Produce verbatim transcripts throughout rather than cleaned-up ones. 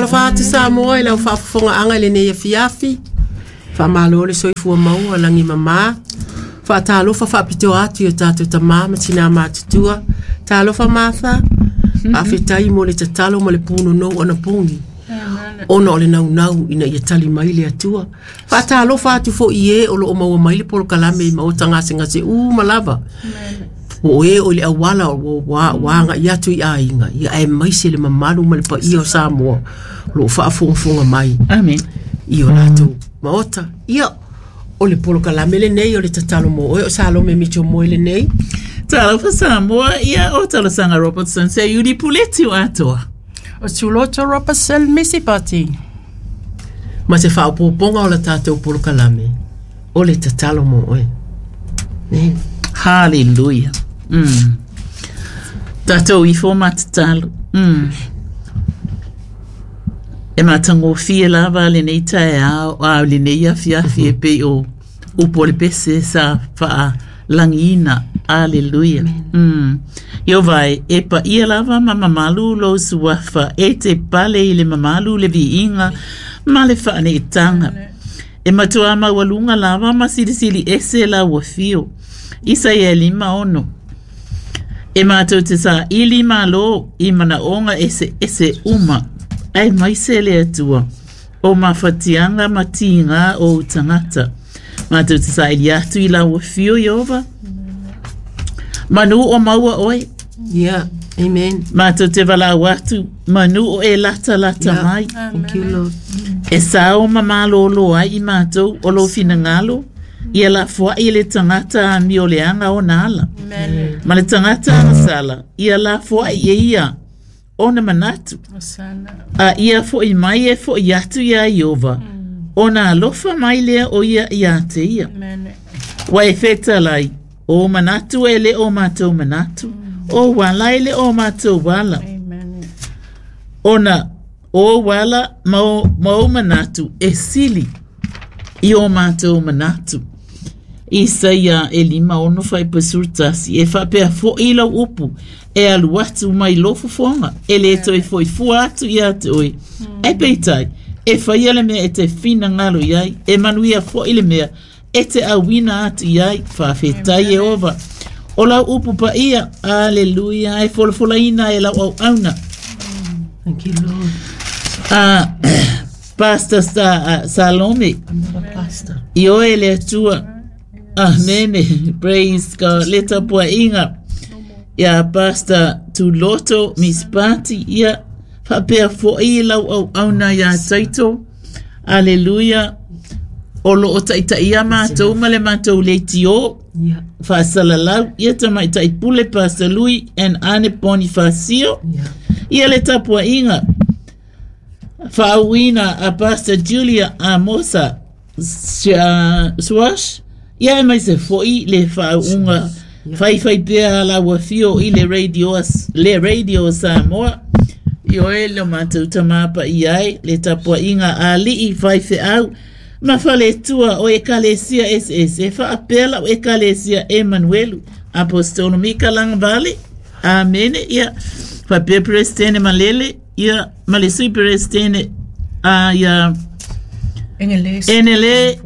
Faatalofa atu Samoa i lau faafofogaaga i lenei afiafi. Faamalo le soifua maua lagi mamā. Faatalofa faapitoa atu i o tatou tamā ma tinā matutua. Talofa Martha. Faafetai mo le tatalo ma le punonou anapogi. Ona o le naunau ina ia tali mai le Atua. Faatalofa atu foi i e o loo maua mai le polokalame i maota gasegase uma lava. O e o le auala o ua ua agai atu i aiga, ia aemaise le mamalu ma le paia o Samoa o loo faafogafoga mai Amen. i o latou maota. Ia, o le polokalame lenei o le tatalo mo oe o Salome Mitchell Moe lenei. Talofa Samoa, ia o Talosaga Robertson se Iuli Puleti o atoa. O Tuloto Robertson Misipati. Ma se faaopoopoga o la tatou polokalame o le tatalo mo oe. Amen. Hallelujah. Mm. Tatou ifo ma tatalo. Mm. E matagofie lava lenei taeao a lenei afiafi e pei o upu o le pese sa faalagiina. Aleluia. Mm. Ieova e, e paia lava ma mamalu lou suafa e te pale i le mamalu le viiga ma le faaneetaga. E matuā maualuga lava ma silisili ese lau afio. Isaia lima ono. E matou te saili malo i manaoga eseese uma. Aemaise le Atua. O mafatiaga ma tigā o ou tagata. Matou te saili atu i lau afio Ieova. Manu o maua oe. Yeah, amen. Matou te valaau atu manu o e latalata Yeah. mai. Thank you, Lord. E sao ma malōlō ai i matou o lou finagalo. Ia lafoai le tagata amioleaga ona ala. Ma le tagata agasala, ia lafoai e ia ona manatu. A ia foʻi mai e foʻi atu iā Ieova. Ona alofa mai lea o ia iā te ia. Ua e fetalai, o manatu e le o matou manatu, o ala e le o matou ala. Ona o ala ma o, ma o manatu e sili i o matou manatu. Isaia e lima ono fuaiupu tasi e faapea foʻi lau upu e alu atu mai lou fofoga e lē toe foʻi fua atu iā te oe. Ae peitai e faia le mea e te finagalo i ai e manuia foʻi le mea e te auina atu i ai. Faafetai Ieova. O lau upu paia, aleluia, e folafolaina e lau auauna. Thank you, Lord. Ah, Pastor Sa, uh, Salome, I'm not a pastor. Ioe le Atua. Amene. Praise God. Le tapuaiga. Ia Pastor Tuloto Mispati. Ia faapea foʻi lau auauna iā Taito. Aleluia. O loo taitaia matou ma le matou leitio. Yeah. Faasalalau. Ia tamaitai pule Pastor Lui and Ane Bonifacio. Yeah. Ia le tapuaiga. Faauuina a Pastor Julia Amosa Swash. Ia aemaise foʻi le faauuga faifai pea lau afio i le radio, le radio Samoa. Ioe le matou tamā paia ai le tapuaiga a alii faifeau ma faletua o ekalesia eseese faapea lau ekalesia Emanuelu Apostolo Mika Lagavale. Amene. Ia faapea Peresetene Malele ia ma le sui Peresetene a ia Enele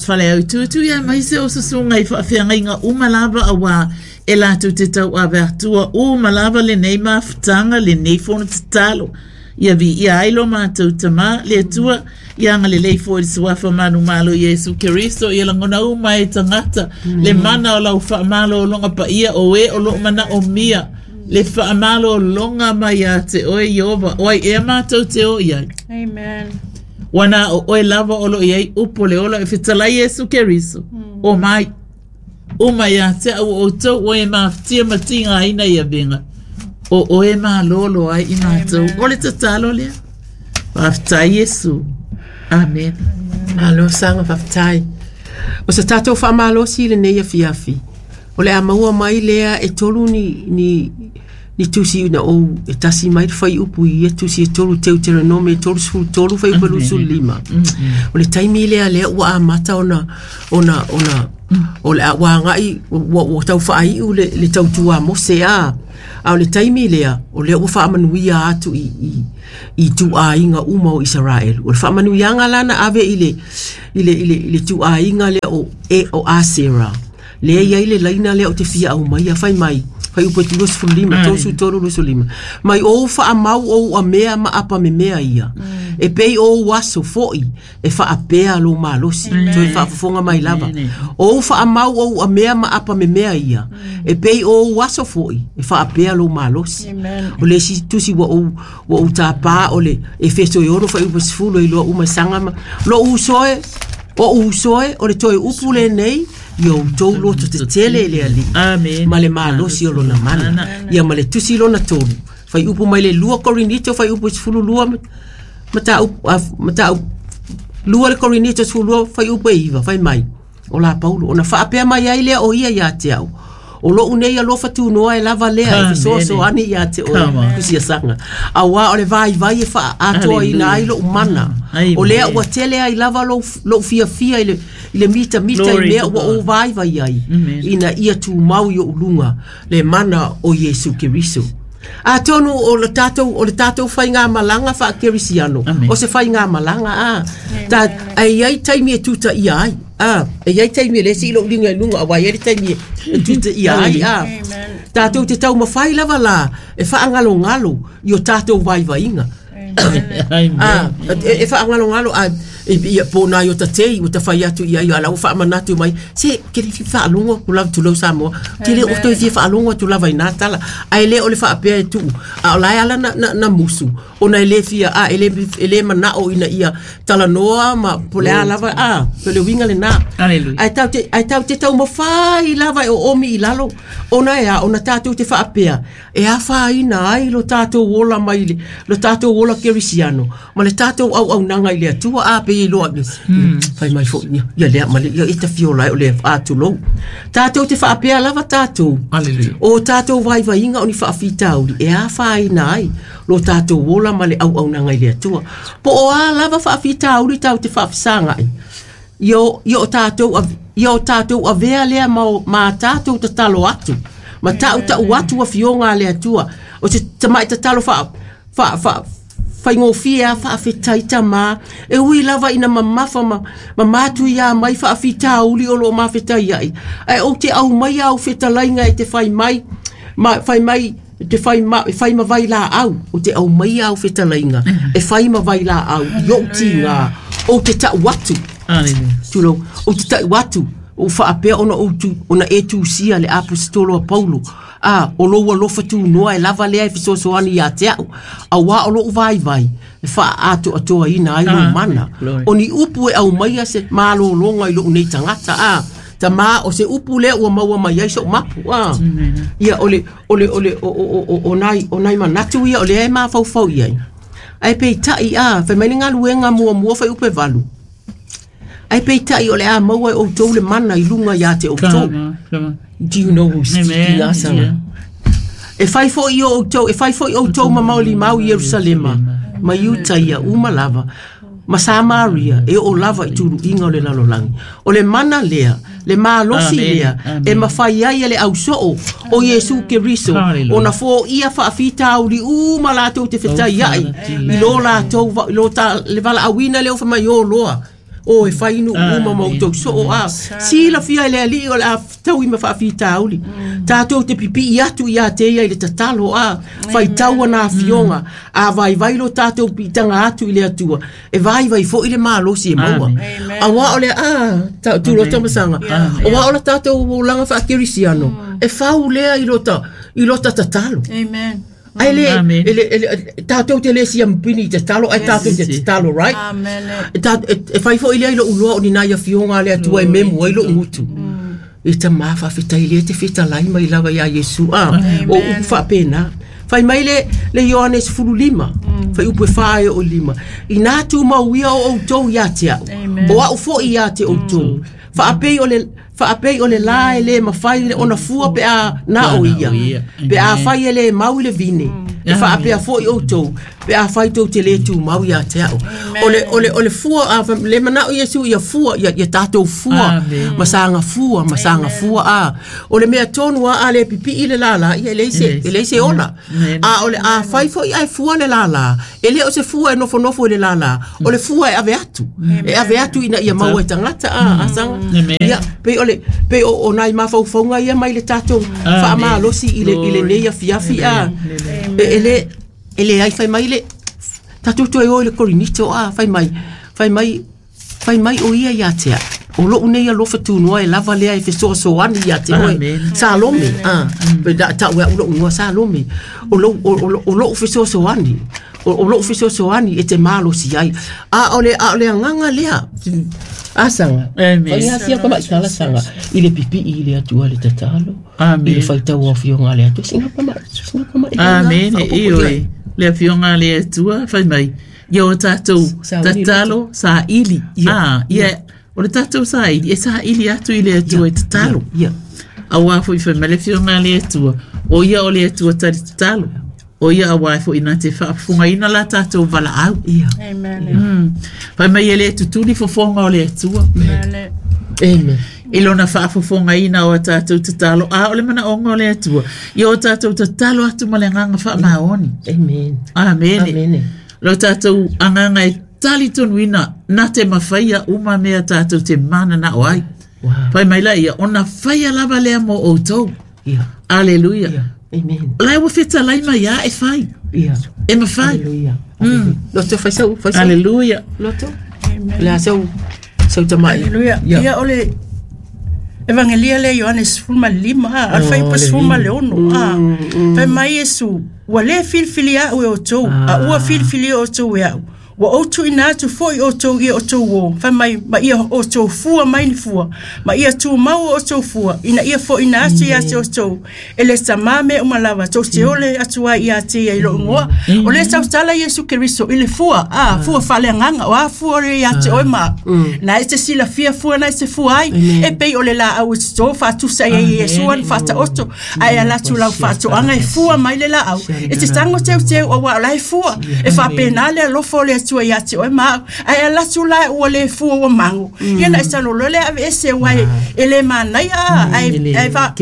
Faleaututu ia aemaise o susuga i faafeagaiga uma lava auā e latou te tauave atua uma lava lenei mafutaga lenei fono tatalo. Ia viia ai lo matou tamā le Atua ia agalelei foʻi le suafa manumalo Iesu Keriso ia lagona uma e tagata le mana o lau faamalōloga paia o e o loo manaomia le faamalōloga mai iā te oe Ieova o ai ea matou te o i ai. Amen. Ua na o oe lava o loo i ai upu le ola e fetalai Iesu Keriso. O mai uma iā te au outou o e mafatia ma tigaina i avega. O oe malōlō ai i matou. O le tatalo lea. Faafetai Iesu. Amen. Malo saga faafetai. O se tatou faamalosi i lenei afiafi. O le a maua mai lea e tolu ni, ni, ni tusi na ou e tasi mai le fuaiupu i ia tusi e tolu Teuteronome e tolu sefulu tolu fuaiupu lusufulu lima. O le taimi lea lea ua amata ona, ona, ona O le a uagai ua ua taufaai'u le le tautua a Mose a a o le taimi lea o lea ua faamanuia atu i i i ituaiga uma o Isaraelu. O le faamanuiaga la na ave i le i le i le i le ituaiga lea o e o Asera. Lea i ai le laina lea o te fia aumaia fai mai fai upu e luasefulu lima tolusefulu tolu luasefulu lima mai ou faamau ou amea ma apa memea ia e pei ou aso fo'i e faapea lou malosi toe faafofoga mai lava ou faamau ou amea ma apa memea ia e pei ou aso fo'i e faapea lou malosi. O le isi tusi ua ou ua ou tapā o le Efeso e ono fuaiupu sefulu e iloa uma e saga ma lo'u uso e o uso e o le toe upu lenei ia outou loto tetele i le Alii Amen. Ma le malosi o lona mana ia ma le tusi lona tolu fuaiupu mai le lua Korinito fuaiupu sefulu lua mataupu mataupu lua le Korinito sefulu lua fuaiupu e iva fai mai o la Paulo ona faapea mai ai lea o ia ia te au o lo'u nei alofa tunoa e lava lea e fesoasoani ia te oe tusiasaga auā o le vaivai e faaatoaina ai lo'u mana o lea ua tele ai lava lou lo'u fiafia i le i le mitamita i mea ua ou vaivai ai ina ia tumau i o'u luga le mana o Iesu Keriso. Atonu o le tatou o le tatou faigamalaga faakerisiano o se faigamalaga a ta ai ai taimi e tuta ia ai a e iai taimi e le sii lo'u liga i luga auā iai le taimi e tuta ia ai a tatou te taumafai lava la e faagalogalo i o tatou vaivaiga a e, e faagalogalo a ia po na i o tatei ua tafai atu ia ia ala ua faamanatu mai se ke le fia faalogo atu lava tulou Samoa te le o toe fia faalogo atu lava i nā tala ae le o le faapea e tuu a o lae ala na, na, na musu ona e le fia a e le, e le manao ina ia talanoa ma po le a lava a po le uiga lenā ae tau te ae tau te taumafai lava e oomi i lalo ona e a ona tatou te faapea e afaina ai lo tatou ola mai le lo tatou ola kerisiano ma le tatou auaunaga i le Atua a pe iloa fai mai fo'i ia ia lea ma le ia e tafiola ai o le atulou tatou te faapea lava tatou o tatou vaivaiga o ni faafitauli e afaina ai lo tatou ola ma le auaunaga i le Atua po o a lava faafitauli tau te faafesaga'i ia ia o tatou ia o tatou avea lea ma, ma tatou tatalo atu ma ta'uta'u atu afioga a le Atua o se tama'i tatalo faa faa faa faigofie a faafetai tamā e ui lava ina mamafa ma, ma matu iā mai faafitauli o loo mafetai ai ae ou te aumai au fetalaiga e te fai mai ma fai mai te fai ma fai ma vai laau o te aumai au fetalaiga e fai ma vai laau i o'u tigā ou te ta'u atu tulou ou te ta'u atu ou faapea ona ou tu ona e tusia le aposetolo a Paulo a o lou alofa tunoa e lava lea e fesoasoani iā te a'u auā o lo'u vaivai e faaatoatoaina ai lou mana o ni upu e aumaia se malōlōga i lo'u nei tagata a tamā o se upu lea ua maua mai ai so'u mapu a ia o le o le o le o o o o nai o nai manatu ia o lea e mafaufau i ai ae peita'i a fai mai le galuega muamua fuaiupu e valu ae peita'i o le a maua e outou le mana i luga iā te outou. Do you know who's speaking asaga e fai fo'i o outou e fai fo'i outou ma maolimau i Ierusalema ma Iutaia uma lava ma Samaria e oo lava i tuluiga o le lalolagi o le mana lea le malosi lea e mafai ai e le ausoo o Iesu Keriso ona foia faafitauli uma latou te fetai ai i lo latou lo ta le valaauina lea o faimai o loa o e fai nuu uma ma outou soo a silafia i le Alii o le a taui ma faafitauli tatou te pipii atu iā te ia i le tatalo a faitau ana afioga a vaivai lo tatou piitaga atu i le Atua e vaivai fo'i le malosi e maua auā o le a tulota masaga auā o la tatou olaga faakerisiano e fau lea i lota i lota tatalo. Amen. Ai le ele ele tatou te le siampini i tatalo ai tatou te tatalo, right? Amen. E ta e fai fo'i lea i lo'u loa o ni nai afioga a le Atua e memu ai lo'u gutu e tamā faafetai lea te fetalai mai lava iā Iesu a o upu faapena fai mai le le Ioane sefulu lima fuaiupu e fā e oo lima inā tumau ia o outou iā te a'u o a'u fo'i iā te outou faapei o le faapei o le lā e lē mafai ona fua pe a na o ia pe a fai e lē mau i le vine E faapea foʻi outou pe afai tou te lē tumau iā te a'u. O le o le o le fua a le manaʻo Iesu ia fua ia ia tatou fua ma saga fua ma saga fua a. O le mea tonu a a le pipiʻi le lālā ia e leai se e leai se ola. A o le afai foʻi ae fua le lālā e lē o se fua e nofonofo i le lālā o le fua e ave atu e ave atu ina ia maua e tagata a asaga. Ia pei o le pei o o nai mafaufauga ia mai le tatou faamalosi i le i lenei afiafi a. E e le e leai fai mai le tatou toe o i le Korinito a fai mai fai mai fai mai o ia iā te a'u o lo'u nei alofa tunoa e lava lea e fesoasoani iā te oe Salome a pe ta'u e a'u lo'u igoa Salome o lou o lo'u fesoasoani o lo'u fesoasoani e te malosi ai a o le a o le agaga lea asaga faiasia tamaʻi saga i le pipiʻi i le Atua le tatalo i le faitau afioga a le Atua siga tamaʻi siga tamaʻi Amene ioe le afioga a le Atua fai mai ia o tatou tatalo saili a ia o le tatou saili e saili atu i le Atua e tatalo auā foʻi fai mai le afioga a le Atua o ia o le Atua tali tatalo o ia auā foʻi na te faafofogaina la tatou valaau. Amen. Fai mai e lē tutuli fofoga o le Atua. Amen. I lona faafofogaina o a tatou tatalo a o le manaʻoga o le Atua ia o tatou tatalo atu ma le agaga faamaoni. Amen. Amene. Amene. Lo tatou agaga e talitonuina na te mafaia uma mea tatou te mananao ai. Fai mai la ia ona faia lava lea mo outou. Aleluia. Amen. La ua fetalai mai ia e fai. E mafai. Aleluia. Loto fai sau fai sau. Aleluia. Loto. Le sau sau tamaʻi. Aleluia. Ia o le Evangelia le Ioane sefulu ma lima a le faiupu sefulu ma le ono a. Fai mai Iesu ua lē filifili aʻu e outou a ua filifili outou e aʻu ua ou tuuina atu foʻi outou ia outou ō fai mai ma ia outou fua mai ni fua ma ia tumau outou fua ina ia foʻina atu iā te outou e le tamā mea uma lava tou te ole atu ai iā te ia i loʻu igoa o lē tautala Iesu Keriso i le fua a fua faaleagaga o a fua o le iā te oe ma a'u na e te silafia fua na e te fua ai e pei o le laau e totō faatusa ai i Iesu ana faataoto ae ala atu lau faatoaga e fua mai le laau e te tago teuteu auā o la e fua e faapenā le alofa o le Atua ia te oe ma a'u ae ala atu la ua lē fua ua mago ia na e talolo le ave ese ua e lē manaia ae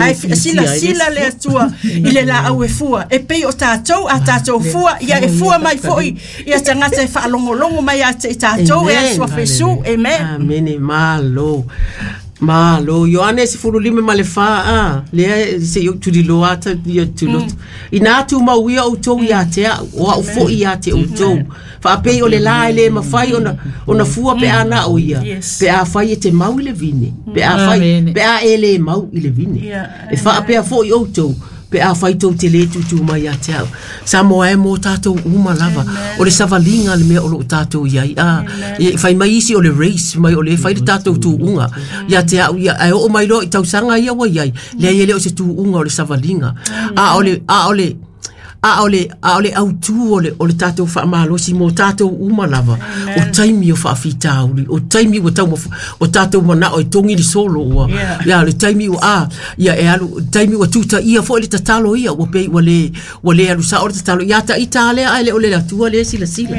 ae silasila le Atua i le laau e fua e pei o tatou a tatou fua ia e fua mai foʻi ia tagata e faalogologo mai ia te i tatou e asuafa Iesu. Amen. Amene. Malo. Malo. Ioane sefulu lima ma le fā a lea seʻi ou tuliloa ata ia tuloto ina tumau ia outou iā te a'u o a'u foʻi iā te outou faapei o le lā e lē mafai ona ona fua pe a na o ia pe afai e te mau i le vine pe afai pe a e lē mau i le vine e faapea foʻi outou pe afai tou te lē tūtū mai iā te a'u Samoa e mo tatou uma lava o le savaliga le mea o loo tatou iai a fai mai isi o le race mai o le fai le tatou tuuga ia te a'u ia ae oo mai loa i tausaga ia ua iai leai e le o se tuuga o le savaliga a o le a o le a o le a o le autū o le o le tatou faamalosi mo tatou uma lava o taimi o faafitauli o taimi ua tau o tatou manaʻo e togi le solo ua ia le taimi ua a ia e alu taimi ua tutaia foʻi le tatalo ia ua pei ua lē ua lē alu saʻo le tatalo ia taʻita lea ae le o le Atua lea silasila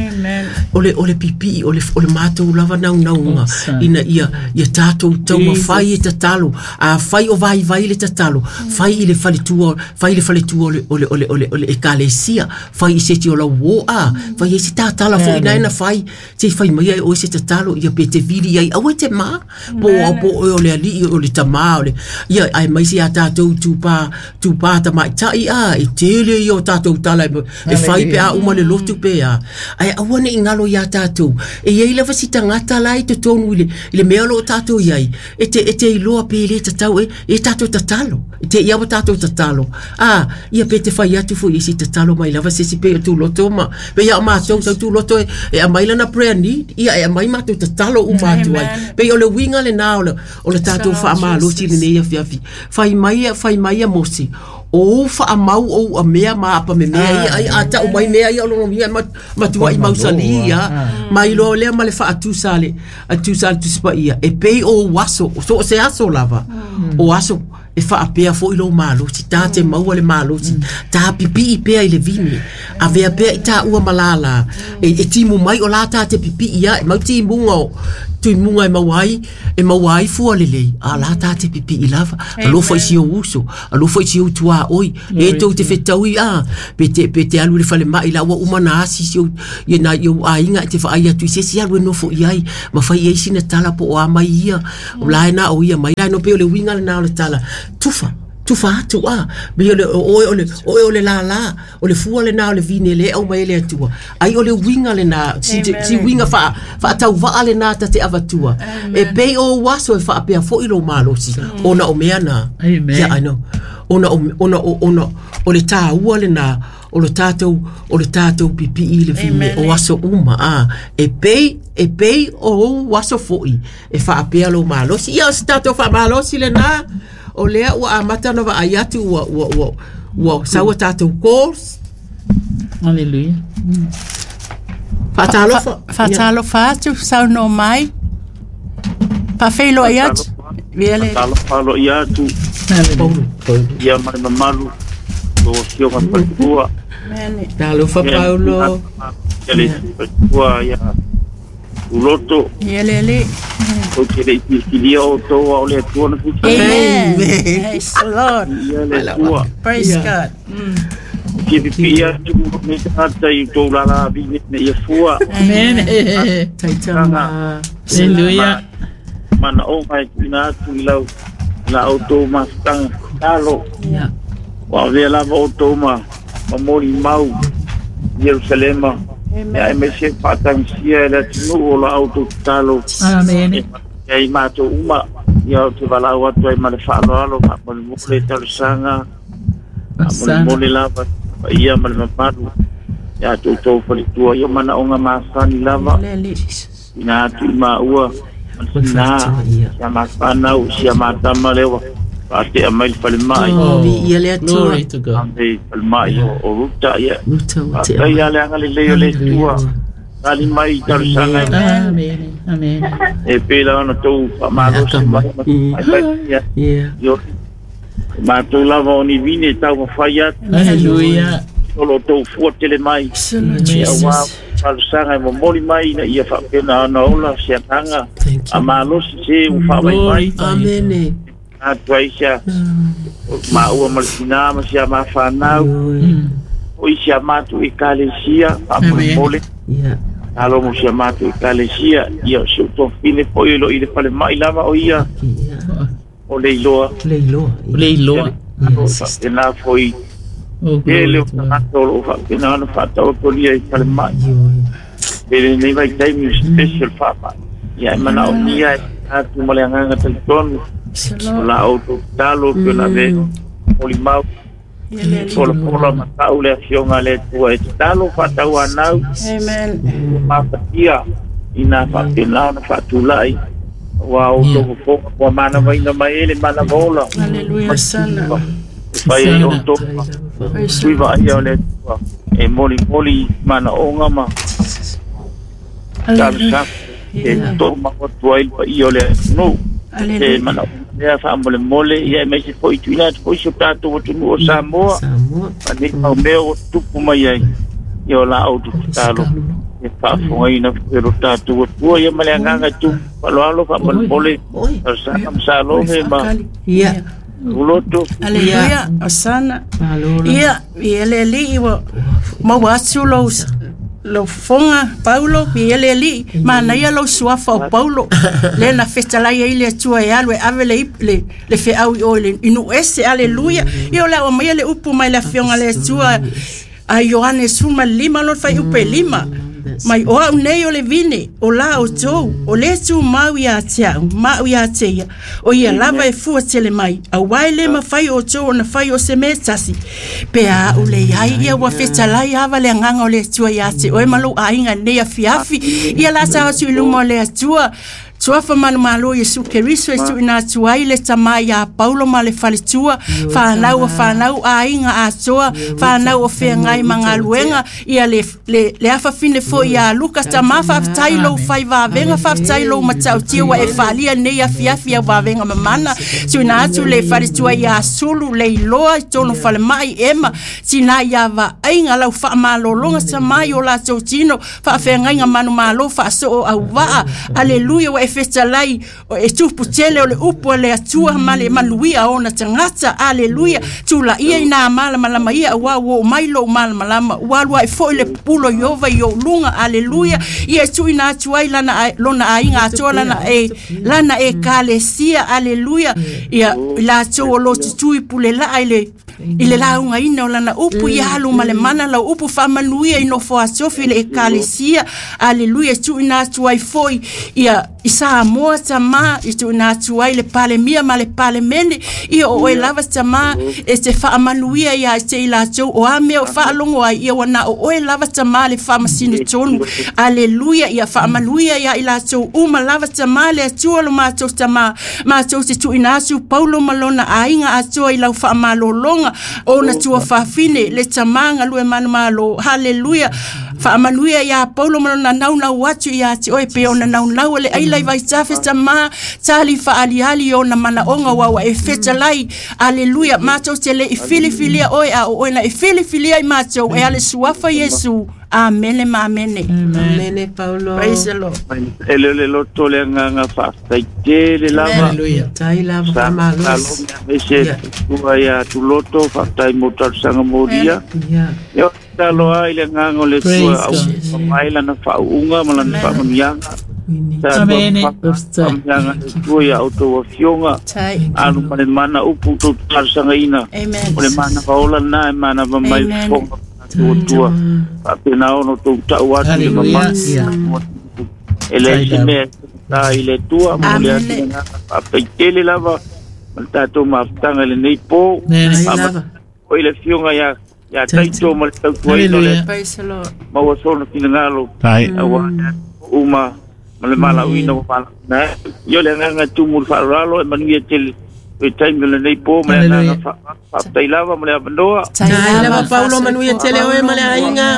o le o le pipiʻi o le o le matou lava naunauga ina ia ia tatou taumafai e tatalo afai o vaivai le tatalo fai i le faletua fai le faletua o le o le o le o le o le ekalesia fai i se ti o lau o a fai e se tatala foʻi na na fai se fai mai ai o se tatalo ia pe te vili ai aua te ma po o po o le aliʻi o le tamā o le ia ai mai se a tatou tupā tupā tamaʻitaʻi a e tele ia o tatou tala e fai pe a uma le lotu pe a ae aua neʻi galo iā tatou e iai lava si tagata la i totonu i le i le mea o loo tatou iai e te e te iloa pe lē tatau e e tatou tatalo e te ia ua tatou tatalo a ia pe te fai atu foʻi i si tatalo mai lava se si pe o tuloto ma pe ia o matou sau tuloto e e aumai lana prayer need ia e aumai matou tatalo uma atu ai pei o le uiga lenā o le o le tatou faamalosi lenei afiafi fai mai fai mai ia Mose o faamau ou amea ma apa me mea ia ai a ta'u mai mea ia o logogia matuaʻi mausali ia mai loa lea ma le faatusa le atusa le Tusi Paia e pei o ou aso so o se aso lava o aso E whaapea fo i lo malosi, tā te maua le malosi, tā pipi i pea i le vine, a vea pea i tā ua malala, e, e timu mai o la tā te pipi ia, e mau timunga o, tui munga e mau ai, e mau ai fua lelei, a la tā te pipi i lava, alofa i si o uso, alofa i si o tua oi, e tau te whetaui a, pe te, pe te alu le whale mai la ua umana asi si o, ia na i o ainga e te whaai atu i se si alu e nofo i ai, ma whai ei sina tala po o a mai ia, o la e na o ia mai la no pe o le winga le na o le tala, tufa, tufa atu a, me o le o o le o o le la la, o le fua le na o le vine le au mai le atua, ai o le winga le na, si si winga fa fa tau va le na ta te avatua, e pe o waso e fa pe fo i lo malosi, ona o mea na. Amen. Yeah, I know. Ona o ona o ona o le tā ua le na, o le tātou, o le tātou pipi i le vine, o aso uma, a, e pei, e pei o waso foi, e fa apea lo malosi, ia o se tātou fa malosi le na, o lea ua amata na vaai atu ua ua ua ua saua tātou calls. Hallelujah. Faatalofa. Faatalofa atu, saunoa mai. Faafeiloai atu. Viale. Faatalofa aloaia atu. Ia ma le mamalu o afioga faletua. Talofa Paulo. Ia le faletua ia uloto. Ia le le. O te le filifilia o tō au le atua na filifilia. Amen. Praise the Lord. Ia le atua. Praise God. Ke pipi atu me tata i tō lala vine me ia fua. Amen. Taitama. Hallelujah. Mana o mai tuina atu i lau la o tō mafutanga talo. Wa avea lava o tō ma mamoli mau Jerusalema. Ia e me se whaatangisia e le atunu o la au tō talo. Amen. Ia i mātou uma, ia o te walau atu ai ma le whaaloalo, whaamolemole talusanga, whaamolemole lava, ia ma le mamalu, ia tō tō whalitua, ia mana o ngā māsani lava, ina atu i maua, nā, sia māwhanau, sia mātama lewa, whaatea mai le whalemai. Oh, ia le atua. Glory to God. Ame whalemai o Ruta, ia. Ruta o te Whaatai a le anga le leo le atua. Tali mai talusanga. Amen. Amen. E pēla ona tō whamalosi mai. Mai mai ia. Yeah. Mātou lava o ni vine tau mawhai atu. Hallelujah. O lo tō fua tele mai. Jesus. Ia wā talusanga e momoli mai ina ia whaapena ana ola se atanga. Thank you. A malosi se u whaamai mai. Amen. Atu ai sia maua ma le tina ma sia mawhanau. O i sia mātou i kalesia, whaamolemole. Yeah. Alo mo sia mātou i kalesia, ia o si o tōwhine po i lo i le whale mai lava o ia. O leiloa. Leiloa. Leiloa. Yes. Tēnā foi. Oh, E glory leo to God. tagata o lo whaapena ana whaataotolia i whale mai. E le nei vai taimi special whaamai. Ia e mana o nia e atu ma le anganga talitonu. O la o tō talo pe na ve oli mau. Pola pola matau le afioga le atua e tatalo whaatau anau. Amen. Mafatia ina whaapena ona whaatulai. Wa o tō fofoga kua manawaina mai e le manavaola. Hallelujah. Sana. E whai ai o tō Praise tui vaai o le atua. E moli moli mana onga ma Hallelujah. talusa. E tō mawatua i pa i o le no. E Hallelujah. mana onga whaamole mole ia e meise po i tuina atu po i so tātou atunu o Samoa. Samoa. Ma nei mau mea o tupu mai ai. Ia o la au tu talo. E whaafongaina e ro tātou atua ia ma le anganga tu. Whaloalo whaamole mole. Oi. Talusanga ma Salome ma Ia. Uloto. Hallelujah. Osana. Malo. Ia, ia le li iwa maua atu lou lou fofoga Paulo, ia le alii, manaia lou suafa o Paulo, le na fetalai ai le Atua e alu e ave le le le feau i o i le inu ese, aleluia. Ia o le au maia le upu mai le afioga le Atua a Ioane suma lima lona faiupu e lima. Mai o au nei o le vine, o la o tou, o le tumau ia te au, ma au ia te ia, o ia lava e fua tele mai, a wai le mawhai o tou o na whai o se me tasi. Pe a o le iai ia ua fetalai ava le anganga o le Atua ia te oe malo ainga nei afiafi, ia la sa atu i luma o le Atua, Suafa manumalo Iesu Keriso e tuuina atu ai le tamā iā Paulo ma le faletua fanau o fanau aiga atoa fanau o feagai ma galuega ia le le le afafine foʻi iā Luka tamā faafetai lou faivavega faafetai lou matautia ua e faalia lenei afiafi au vavega mamana tuuina atu le faletua iā Sulu le iloa i tonu falemaʻi ema tinā iā vaaiga lau faamalologa tamā i o latou tino faafeagaiga manumalo faasoo auvaa aleluia ua e fetalai e tupu tele o le upu a le Atua ma le manuia ona tagata aleluia tulaia ina malamalama ia auā ua oo mai lou malamalama ua alu ae foʻi le pupulo Iova i ou luga aleluia ia e tuuina atu ai lana lona aiga atoa lana e lana ekalesia aleluia ia i latou o lo tutui pulelaa i le i le laugaina o lana upu ia alu ma le mana lau upu faamanuia i nofo atofi le ekalesia aleluia e tuuina atu ai foʻi ia i Samoa tamā i tuuina atu ai le palemia ma le palemene ia o oe lava tamā e te faamanuia ia te i latou o a mea o faalogo ai ia ua na o oe lava tamā le faamasino tonu aleluia ia faamanuia ia i latou uma lava tamā le Atua lo matou tamā matou te tuuina atu Paulo ma lona aiga atoa i lau faamalologa ona tua fafine le tamā galue manumalo haleluia faamanuia iā Paulo ma lona naunau atu iā te oe pe ona naunau le aila i vaitafe tamā tali faaliali ona manaoga ua ua e fetalai aleluia matou te leʻi filifilia oe a o oe na e filifilia i matou e ale suafa Iesu amene ma amene. Amene Paulo. Praise the Lord. E le le loto le agaga faafetai tele lava Hallelujah. Tai lava faamalosi. Ese tua ia tuloto faafetai mo talosaga molia Ia. Ia talo ai le agaga o le Praise Atua God. au mai lana faauuga ma lana faamanuiaga Sa Amene. faamanuiaga le Atua ia outou afioga Tai. alu ma le mana upu outou talosagaina Amen. o le mana vaola lena e manava mai Amen. fofoga tua faapena ona outou tau atu i le Hallelujah. mamalu Ia. e leai se Tai lava. mea ta i le Atua mo le Amene. atu le agaga faafetai tele lava ma le tatou mafutaga i lenei po Amene. Tai lava. o i le afioga ia ia Taito ma le tautuaina o le Hallelujah. Praise the Lord. maua sona finagalo Tai. auā uma ma le malauina ua malauina ai ia o le agaga e tumu le faaaloalo e manuia tele o taimi o lenei po ma le agaga Hallelujah. fa- faafetai lava ma le avanoa Tai lava Paulo manuia tele oe ma le aiga.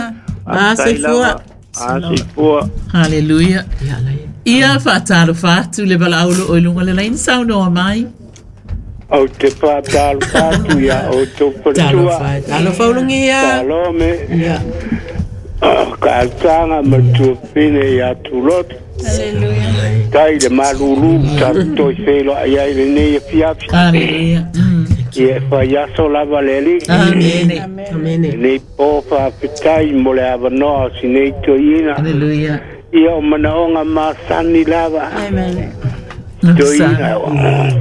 A Faafetai soifua. lava. A soifua Hallelujah. Ia lai. Ia faatalofa atu le valaaulo o i luga le laini saunoa mai. Au te whātālu atu ia o tō patua. Talofa. Talofa ulungia. Salome, Ia. ka altanga ma tuapine ia tuloto. Hallelujah. Tai le malulu ta toi whelo ai ai le nei e fiafi. Hallelujah. Mm. Ia e whai aso lava le li. Amene. Amene. Nei pō whawhitai mo le awanoa o si nei toina. Hallelujah. Ia o manaonga masani lava. Amen. Toina,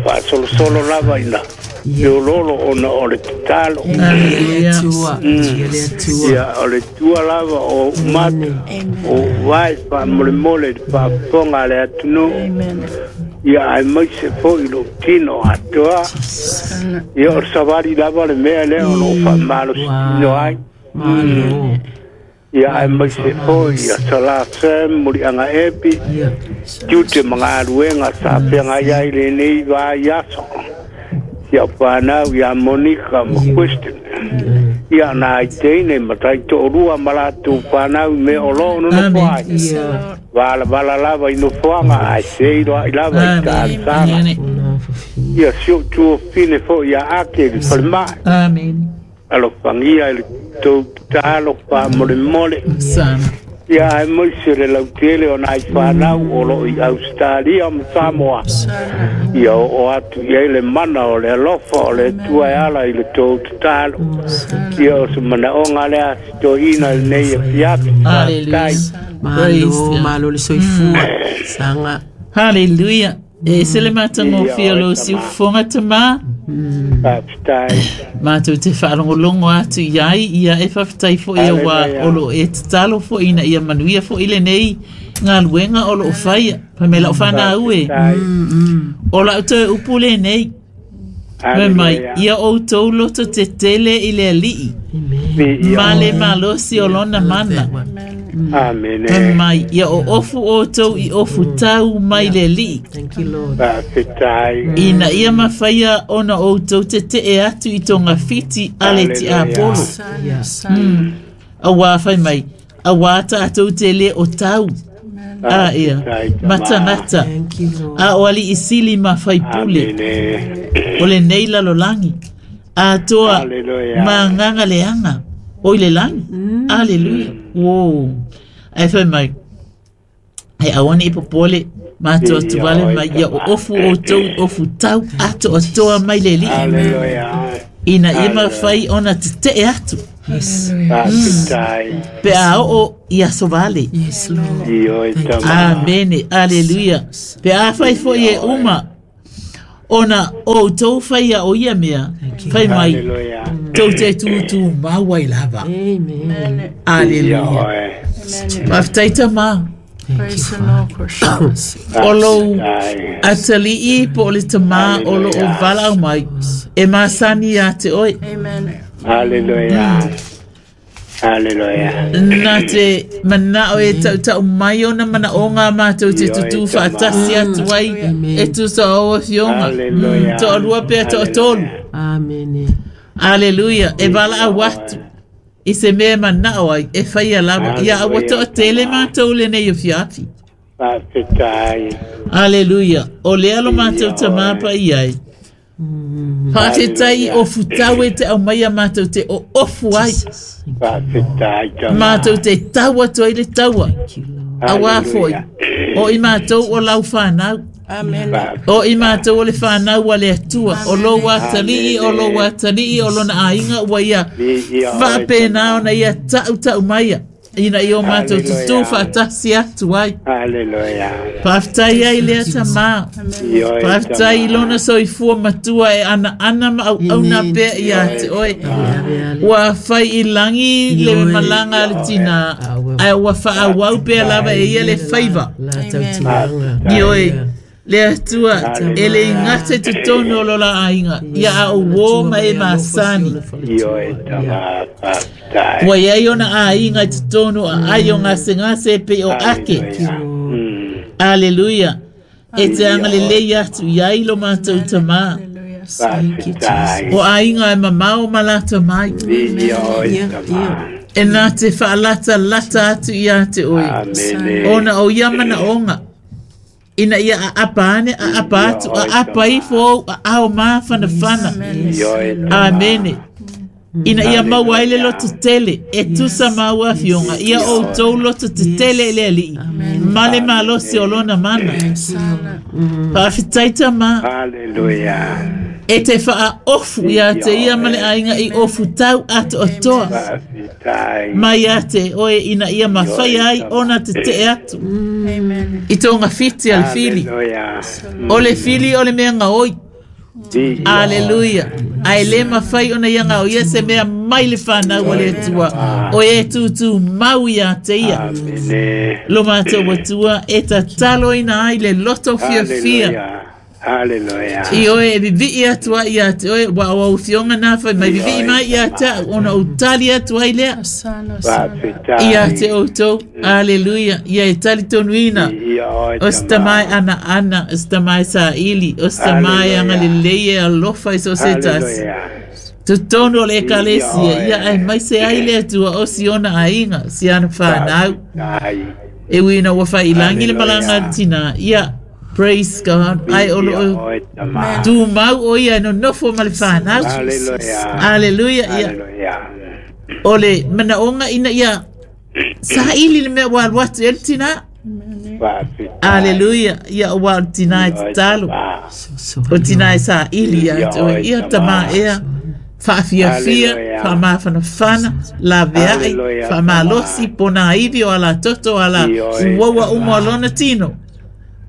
whaasolosolo lava ina. Leololo ona o le tatalo. Hallelujah. Atua. Ia le Atua. Ia o le tua lava o mata o vai wha mole mole le whaafonga le atunu. Amen. Ia ai mai se fo i lo tino atoa. Ia o sawari lava le mea lea o lo wha malo tino ai. Malo. Ia ai mai se fo ia sala sem muri anga epi. Ia. Tiute mga aluenga sa penga ia i le nei vā i aso. Ia whanau ia Monica ma Kristen. Ia nā i teine ma tai to'orua ma lātou whanau me o loo no no Amen. ai. Ia. Wala wala lava i no fuanga ai seiro ai lava i Amen. tāsanga. Amen. Ona fafina. Ia sio tuo fine fo ia ake i whalemai. Amen. Alo whangia i le tau talo wha mole mole. Sana. Ia ai moi se le lautele o nai whanau o lo i Australia ma Samoa. Ia o, o atu i ai le mana o le alofa o le tua e ala i le tau tatalo. Ia o se manaonga lea si toina i nei e fiafi. Hallelujah. Praise Malo, God. malo le soifua. Sanga. Hallelujah. E se le matagofie Ia, o lo oe siufofoga tamā Faafetai. matou te faalogologo atu iai ia e faafetai foʻi auā Hallelujah. o loo e tatalo foʻi ina ia manuia foʻi lenei galuega o loo faia pamea la'u fanau e Faafetai. o la'u toe upu lenei Fai mai ia outou loto tetele i le ali'i ma le malosi o lona mana. Amene. Fai mai ia oofu outou i ofu tau mai le ali'i. Thank you, Lord. Faafetai. Ina ia mafaia ona outou tete'e atu i togafiti a le tiapolo. Yeah. Auā fai mai auā tatou te lē o tau a ia ma tagata Thank you, Lord. a o ali'i sili ma faipule Amene. o lenei lalolagi atoa Hallelujah. ma agaga leaga o i le lagi. Aleluia. Uō ae fai mai e aua ne'i popole matou atu vale mai ia oofu outou i ofu tau atoatoa mai le ali'i Hallelujah. ina ia mafai ona tete'e atu Yes. Faafetai. pe a oo i aso vale. Yes, Lord. Ioe tama. Amene. Aleluia. Pe a fai fo'i e uma ona outou faia o ia mea fai mai Hallelujah. tou te tutū mau ai lava. Amen. Aleluia. Ioe. Faafetai tamā Praise the Lord, o lou Faafetai. atali'i po o le tamā o loo valaau mai e masani iā te oe. Amen. Hallelujah. Hallelujah. Na te mana'o e ta'uta'u mai ona manaʻoga matou te tutū faatasi atu ai e tusa o afioga Hallelujah. to'alua pea to'atolu. Amen. Aleluia. E valaau atu i se mea e mana'o ai e faia lava ia aua to'atele matou lenei afiafi. Faafetai. Aleluia. O lea lo matou tamā paia ai. Faafetai o futau e te aumaia matou te oofu ai. Faafetai tama. Matou te tau atu ai le taua. Thank you, Lord. Auā fo'i. O i matou o lau whanau. Amen. O i matou o le whanau a le atua. O lou atalii, o lou atalii, o lona aiga ua ia. Faapena ona ia ta'u ta'u maia. Ina i o matou tutū faatasi atu ai. Hallelujah. Faafetai ai lea tamā. Ioe Faafetai i tama. lona soifua matua e ana ana ma auauna pea ia te oe. Ave ale. Ua fai i lagi le malaga a le tinā. Ae ua faaauau pea lava e ia le faiva. La tautiaga. Ioe, le atua e le igata i totonu o lola aiga. Ia a uō ma e masani. Ioe tama. Faafetai. Ua iai ona aiga i totonu a ai o gasegase e pei o ake. Hallelujah. Mm. Aleluia. E te agalelei atu iai lo matou tamā. Faafetai. O aiga e mamao ma lata mai. Ioe tama. E nā te whaalata lata atu ia te oe. Amene. Ona o ia manaʻoga ina ia aapa ane aapa atu aapa ifo ou aao mafanafana. Ioe tama. Amene. Ina ia maua ai le loto tele e tusa maua afioga ia outou loto tetele i le ali'i ma le malosi o lona mana. Faafetai tamā Hallelujah. e te faaofu iā te ia ma le aiga i ofu tau atoatoa Faafetai. mai ia te oe ina ia mafai ai ona tete'e atu Amen. i togafiti a le fili. Hallelujah. O le fili o le mea gaoi. Ioe. Aleluia. Ae lē mafai ona ia gaoia se mea mai le fanau a le Atua o e tutū mau iā te ia. Amene. Lo matou atua e tataloina ai le loto fiafia. Hallelujah. Hallelujah. I oe e vivi'i atu ai iā te oe ua o au fioga nā fai mai vivi'i mai iā ta'u ona ou tali atu ai lea. Sana, sana. Faafetai. Ia te outou. Aleluia. Ia e talitonuina. Ioe O se tamai ana ana, o se tamai sa'ili, o se tamai agalelei e alofa i so se tasi. Hallelujah. Totonu o le ekalesia, ia ae mai se ai le Atua o si ona aiga, si ana whanau. Faafetai. E uina ua whailangi le malanga a le tina. Ia, praise God. Ai o loo Ioe tama. tu mau o ia no nofo ma le whanau. Hallelujah. Hallelujah. Ia, Hallelujah. o le manaonga ina ia sa'ili le mea ua alu atu e le tina. Faafetai. Hallelujah. Ia o ua o le tina e tatalo. Tama. O tina e sa'ili ia te oe. Ia tamā ea. Faafiafia, Hallelujah. faamafanafana, lavea'i, Hallelujah. faamalosi, pona ivi o ala toto ala Ioe, uaua uma o lona tino.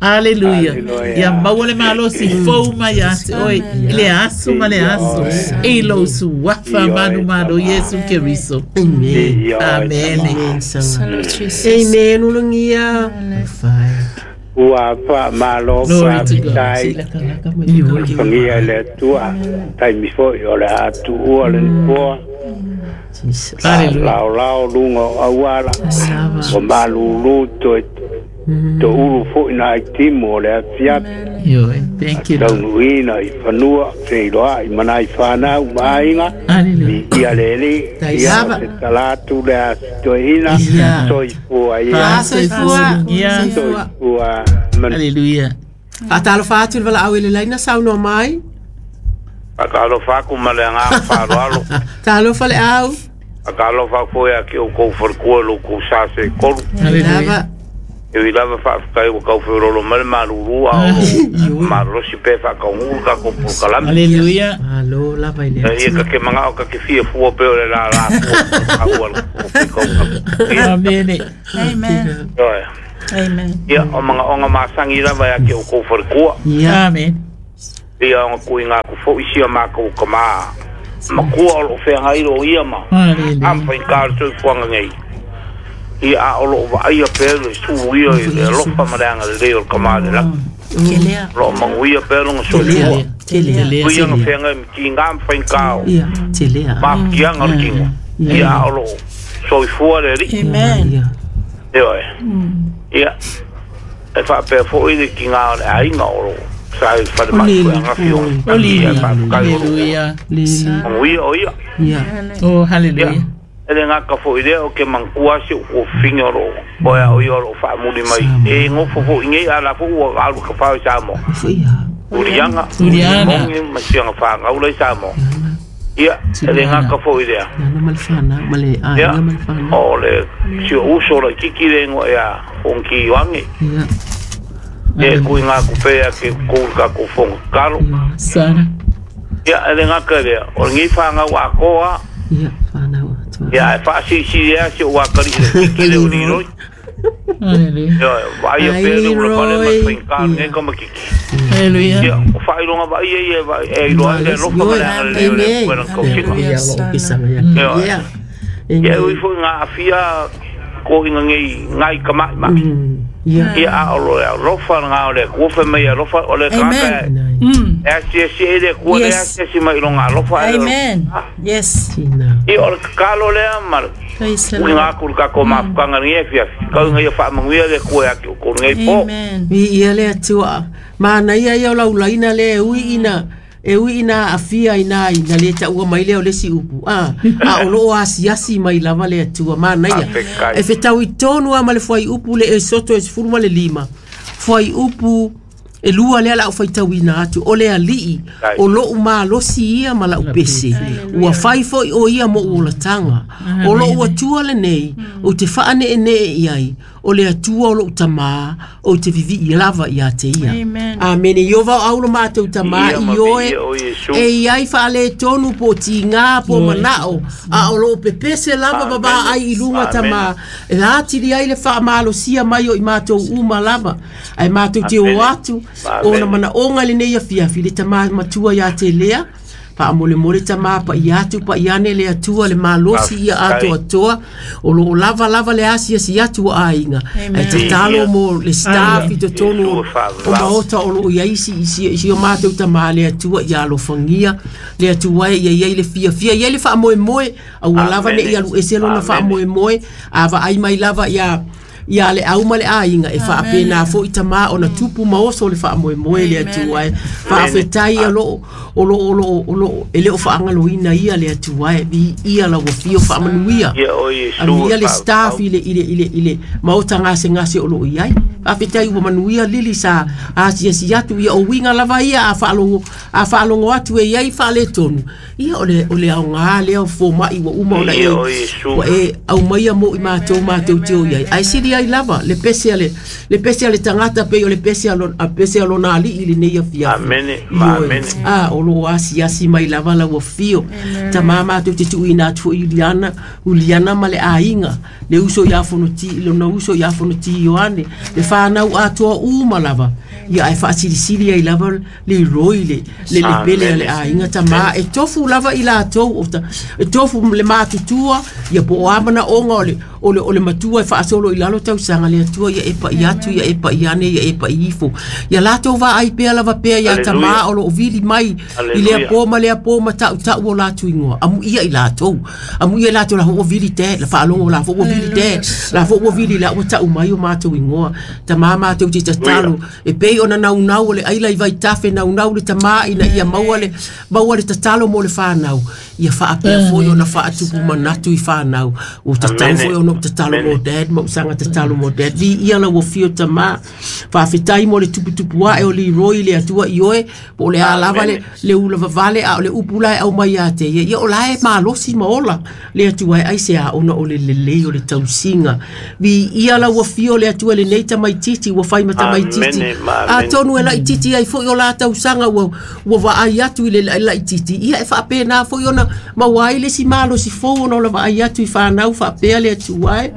Aleluia. Hallelujah. Ia maua le malosi fou mai ia te oe, i le aso ma le aso. I lou suafa Ioe, manumalo tama. Iesu Keriso. Amen. Ioe Amen. tama. Amen. Sanga. Lord Jesus. Amen. Ulungia. Amen. Fai. Ua faamālō faafetai fagia i le Atua taimi foʻi o le a tuua le nofoa laolao luga o auala o malūlū toe toʻulu foʻi na aitimu o le afiafi taunuuina i fanua feiloaʻi ma nai fanau ma aiga viia le Alii ia o se talatu le a sitoeina soifua ia soifua. Hallelujah. Faatalofa atu le valaau i le laina saunoa mai. Faatalofa aku ma le agaga faaaloalo. Talofa le au. Faatalofa foi ia te outou falekua i lo outou sa setolu. Hallelujah. E ui lava faafetai ua taufelolo mai le malūlū a o malolosi pea faatauguu le tatou polokalame. Hallelujah. Malo lava i le Atua. Ia ta te magao ta te fiafua pea o le lalā fua aua le Amene. Amen. Amen. Ia o magaoga masagi lava ia te outou falekua. Amen. Ia ona tuuina atu foʻi sia matou kamā makua o loo feagai loo ia ma amafaigā o le soifuaga nei. Ia a o loo vaaia pea le sulu ia i le alofa ma le agalelei o le kamā le lagi. Loo manuia pea loga soifua. Ui ona feagai ma tigā ma faigā o mafutiaga o le tino. Ia a o loo soifua le Alii. Amen. Ioe. Ia e faapea foʻi le tigā o le aiga o loo sa i fale mai foi agafi o ia faafetai o Hallelujah. manuia o ia. Oh, hallelujah. E le gaka foʻi lea o ke manatua si ou kuafifiga o loo oe ao ia o loo faamuli mai e gofo foʻi nei a la foʻi ua alu kafao i Samoa. Uliaga mogi ma siaga fagaula i Samoa. Ia e le gaka foʻi lea ia o le si o uso laititi le igoa ia Fonoti Ioane. E tuuina atu pea ke kou le tatou fono tatalo. Ia e le gaka lea o lenei fagau atoa. Ia e faasilisili ea si ou akalii le tiki le o Liroi. Ioe vaaia pea le ulapale ma le faigata lenei kamatiti. Ia o faailoga vaaia ia e iloa ai le alofa ma le agalelei o le Atua i lana tausiga. Ioe. Ia e ui foʻi na aafia toʻiga nei nai tamaʻimaʻi. Ia a o lo le alofa lagā o le Atua fai mai e alofa o le tagata e asiasi ai le Atua lea asiasi mai i loga alofa ae Amen. Yes. Ia o le tatalo lea ma le uiga atu i le tatou mafutaga lenei afiafi kauga ia faamanuia le Atua ia te outou lenei po. Amen. Viia le Atua. Manaia ia o laulaina le e ui ina e ui ina aafia ina ina le taua mai lea o le isi upu a a o loo asiasi mai lava le Atua manaia e fetau i tonu a ma le fuaiupu le e soto e sefulu ma le lima fuaiupu e lua lea lau faitauina atu o le Alii o lou malosi ia ma lau pese ua fai foʻi o ia mo ou olataga o lou Atua lenei ou te faaneenee i ai o le Atua o lou tamā ou te vivii lava ia te ia. Amene. Iova o aulo matou tamā i oe e iai faaletonu po o tigā po o manao a o loo pepese lava vavaai i luga tamā e atili ai le faamalosia mai o i matou uma lava ae matou te o atu ona manaoga lenei afiafi le tamā matua ia te lea faamolemole tamā paia atu paia ane le Atua le malosi ia atoatoa o loo lava lava le asiasi atu o aiga ae tatalo mo le staff i totonu o maota o loo iai si si o matou tamā le Atua ia alofagia le Atua e ia iai le fiafia iai le faamoemoe aua lava neʻi alu ese lona faamoemoe a vaai mai lava ia ia le au ma le aiga e faapena foʻi tamā ona tupu ma oso le faamoemoe le Atua e faafetai o loo o loo o loo o loo e le o faagaloina ia le Atua e viia lau afio faamanuia anuia le staff i le i le i le i le maota gasegase o loo iai faafetai ua manuia lili sa asiasi atu ia o uiga lava ia a faalogo a faalogo atu e iai faaletonu ia o le o le aogā lea o fomaʻi ua uma ona e ua e aumaia mo i matou matou te o iai ae sili ai lava le pese a le le pese a le tagata pei o le pese a lona a pese a lona alii lenei afiafi. Amene. Ioe a o loo asiasi mai lava lau afio tamā matou te tuuina atu foʻi Uliana Uliana ma le aiga le uso ia Fonoti lona uso ia Fonoti Ioane le fanau atoa uma lava Ia ai faasilisili ai lava le roi le le le pele le aiga tamā e tofu lava i latou o ta e tofu le matutua ia po o a manaoga o le o le o le matua e faasolo i lalo tausaga le Atua ia e pa'i atu ia e pa'i ane ia e pa'i ifo ia latou vaai pea lava pea ia tamā o loo vili mai i lea po ma lea po ma ta'uta'u o latou igoa amuia i latou amuia i latou la ua vili te la faalogo la ua vili te la ua vili la ua ta'u mai o matou igoa tamā matou te tatalo e pei ona naunau o le aila i vaitafe naunau le tamā ina ia maua le maua le tatalo mo le whanau ia faapea foi ona faatupu manatu i whanau o tatau foi ona tatalo mo dad mo sanga tatalo mo dad vi ia la ua fio tamā faafetai mo le tuputupu ae o Leroy le Atua i oe po o le a lava le le ula vavale a o le upu la e au mai ia te ia ia o la e malosi ma ola le Atua e ai se a ona o le lelei o le tausiga vi ia la ua fio le Atua lenei tamaititi ua fai ma tamaititi atonu e laititi ai foi o la tausaga ua ua vaai atu i le laititi ia e faapena foi ona maua ai le si malosi fou ona o la vaai atu i whanau faapea le Atua e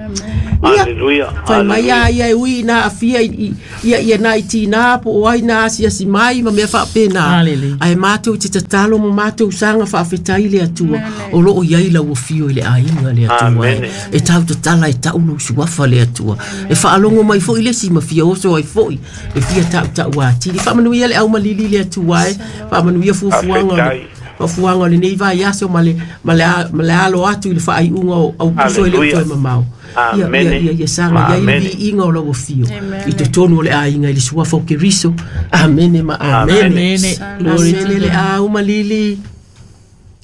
Hallelujah. Fai mai a ia e ui na afia i ia ia na i tina po o ai na asiasi mai ma mea faapena ae matou te tatalo ma matou saga faafetai le Atua o loo iai lau afio i le aiga le Atua e e tau tatala e ta'u lou suafa le Atua e faalogo mai foi le si ma fia oso ai foi e fia ta'uta'u atili faamanuia le aumalili le Atua e faamanuia fuafuaga fuafuaga o lenei vaiaso ma le ma le ma le alo atu i le faaiuga o aupuso e le toe mamao ia ia ia ia saga ia i le viiga o lau afio i totonu o le aiga i le suafa o Keriso amene ma amene amene le aumalili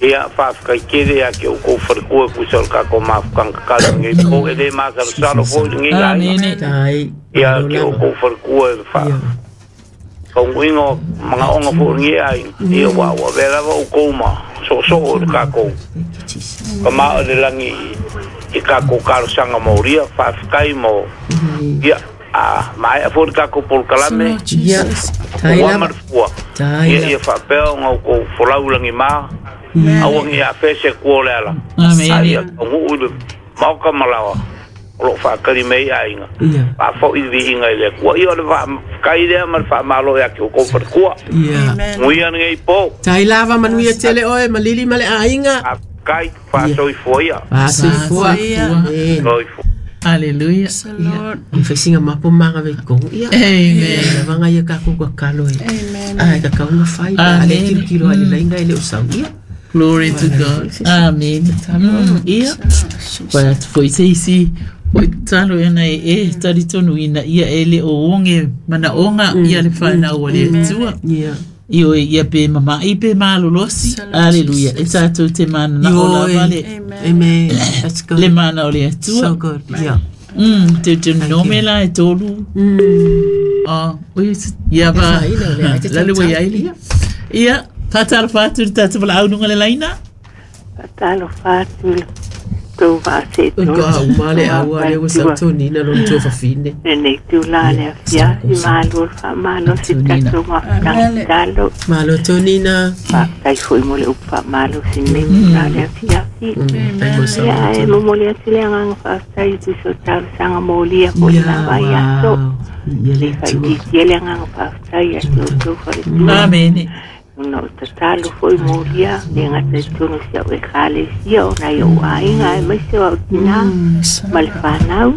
ia faafetai ia ke o kou falekua pusa o le kako mafukanga kakalo ngai po e le masalosalo foi lenei aiga ia ke o kou falekua e fa kauguiga o magaoga foi lenei aiga ia ua ua avea lava oukou ma soosoo o le kakou ka ma o le lagi i kakou kalosaga maulia faafetai mo ia a maea foi le kakou polokalame ia ua ma le fua ia ia faapea ona oukou folau lagimā aua ia afese kua o le ala aia tauguu i le maoka ma laoa o loo faakali mei aiga faafo'i le viiga i le Atua ia o le faafetai lea ma le faamalo ia ke oukou falekua muia lenei po tai lava manuia tele oe malili ma le aiga faafetai faasoifua ia faasoifua soifua Hallelujah. Ia faisiga mapo maga veikogu ia Amen. Lavaga ia kakou kakalo e Amen. Ai kakauga fai ale kilokilo ale laiga e le o sau ia Glory to God. Amen. Ia. Pa foi se isi o talo ena e e talitonu ina ia ele o onge manaonga ia le whanau o le Atua. Ia. Io ia pe mama i pe malolosi. Hallelujah. E tātou te mana na o la vale. Amen. That's good. Le mana o le Atua. So good. Yeah. Mm, te te nome la e tolu. Mm. Ah, oi ia va. La le wai ai. Ia. Fatalo fatu le tātou wala aununga le laina. Fatalo fatu le tau vaase tō. Ka uma le aua le ua sautonina lona tua fafine. Lenei tūlā le afiafi, malo le faamalo si tatou mafutagitalo. Malo tonina. Faafetai foi mo le upu faamalo si lenei tūlā le afiafi. Ia e momoli atu le agaga faafetai i tusa o talosaga molia po le lava i aso. Ia le Atua. Faitiitia le agaga faafetai ia te outou faletua. Amene. Ona o tatalo foi molia le gata i totonu si au ekalesia o nai ou aiga e maise o au tinā ma le whanau.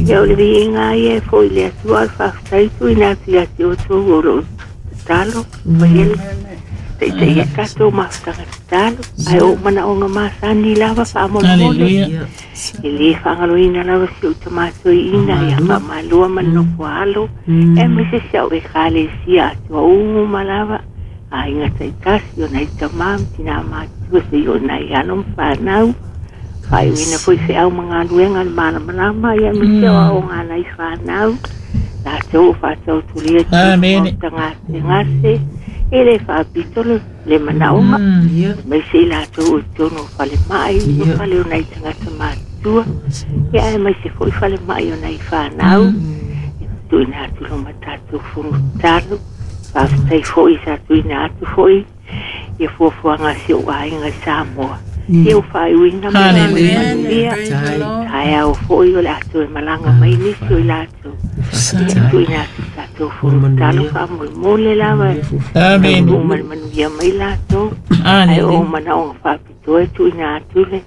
Ia o le viiga ia e foi le Atua le faafetai tuuina atu ia te outou o loo tatalo faia le taitaia tatou mafutaga tatalo ae ou manaoga masani lava faamolemole e lē faagaloina lava si ou tamatoiina ia faamalua ma le nofo alo e maise si au ekalesia atua uma lava aiga taitasi o nai tamā ma tinā matutua seia o nai alo ma whanau faaiuina foi feau ma galuega le malamalama ia maise o aoga nai whanau latou o faatautulia tagasegase e le faapito le le manaoga maise i latou o totonu o falemai o fale o nai tagata matutua ia ae maise foi falemai o nai whanau e tuuina atu lo ma tatou fono tatalo faafetai foi sa tuuina atu foi ia fuafuaga si ou aiga i Samoa ia o faaiuina maia taeao foi o le ato e malaga mai nisi o i latou ia tuuina atu tatou tatou fonotalo faamolemole lava Amen. Taunuu ma le manuia mai latou ae o manaoga faapitoa e tuuina atu le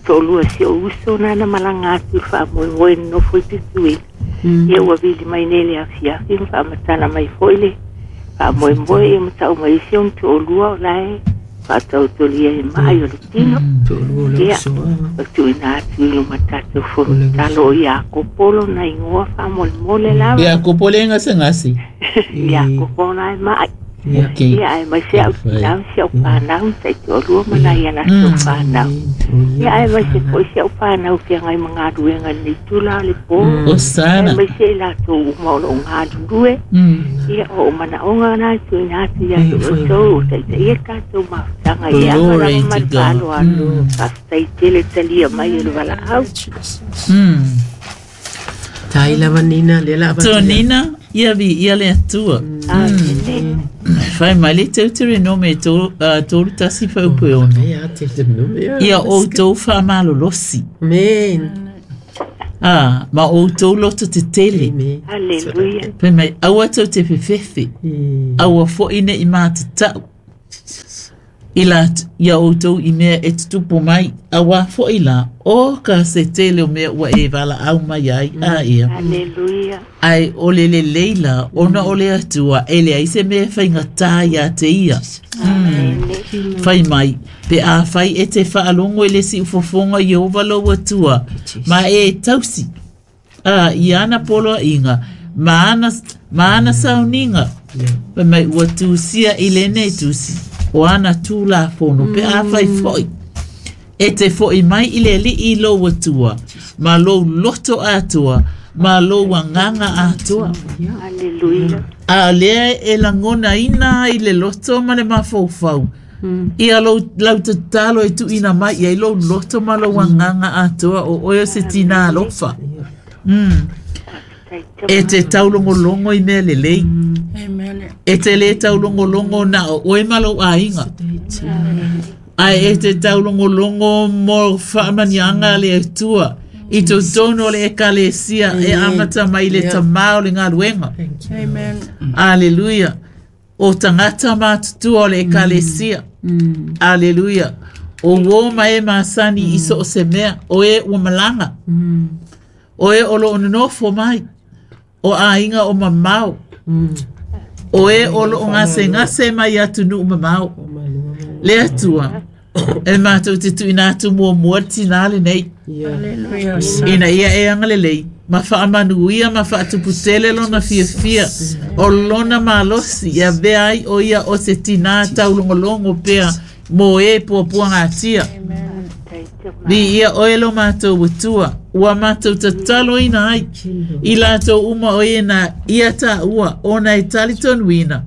toalua si ou uso na na malaga atu i le faamoemoe nonofo i Tutuila ia ua vili mai nei le afiafi ma faamatala mai foi le faamoemoe ia ma tau mai isi ona toalua o la e faatautolia e maai o le tino ia o tuuina atu i luma tatou fonotalo o Iakopo lona igoa faamolemole lava Iakopo le gasegase Iakopo na e maai Okay. Ia aemaise au tinā si au fanau taitoalua ma nai a latou fanau ia aemaise foi si au fanau feagai ma galuega lenei tula o le pō Osana. Aemaise i latou uma o loo galulue ia o ou manaoga na e tuuina atu ia te outou o taitaia tatou mafutaga i aga Glory lava ma to le God. faaaloalo faafetai tele talia mai e le valaau Mm. Tai lava Nina le la So Nina, ia vi ia le atua. Amene Fai mai le Teuteronome tolu uh, tolu tasi faupu e ono. Ia te te no. Ia outou faamalolosi. Amen. Ah, ma outou loto te tele. Amen. Haleluia Fai mai aua tou te fefefe. Aua foi ne i matatau. I la ia outou i mea e tutupu mai. Aua foi la o ka se tele o mea ua e valaau mai ai a ia. Haleluia Ai o le lelei la ona o le Atua e leai se mea e faigata ia te ia. Amene Fai mai, pe a fai e te faalogo i le siufofoga Iehova lou Atua, ma e tausi. A i ana poloaiga, ma ana, ma ana sauniga. Fai mai ua tusia i lenei tusi, o ana tulafono pe a fai foi. E te foi mai i le Alii lou Atua, ma lou loto atoa, ma lou agaga atoa. Haleluia A lea e lagonaina ai le loto ma le mafaufau. Ia lou lau tatalo e tuuina mai ia i lou loto ma lou agaga atoa o oe o se tinā alofa. Mm. E te taulogologo i mea lelei. Amen. E te lē taulogologo na o oe ma lou aiga. Ae e te taulogologo mo faamaniaga a le Atua i totonu o le ekalesia e amata mai i le tamā o le galuega. Amen. Aleluia. O tagata matutua o le ekalesia. Aleluia. O uō ma e masani i so o se mea. O e ua malaga. O e o loo nonofo mai. O aiga o mamao. O e o loo gasegase mai atunuu mamao. Le Atua. E matou te tuuina atu muamua le tinā lenei. Haleluia. Ina ia e agalelei ma faamanuia ma faatuputele lona fiafia o lona malosi ia avea ai o ia o se tinā taulogologo pea mo e puapuagatia. Li ia oe lo matou Atua ua matou tataloina ai i latou uma o e na ia taua ona e talitonuina.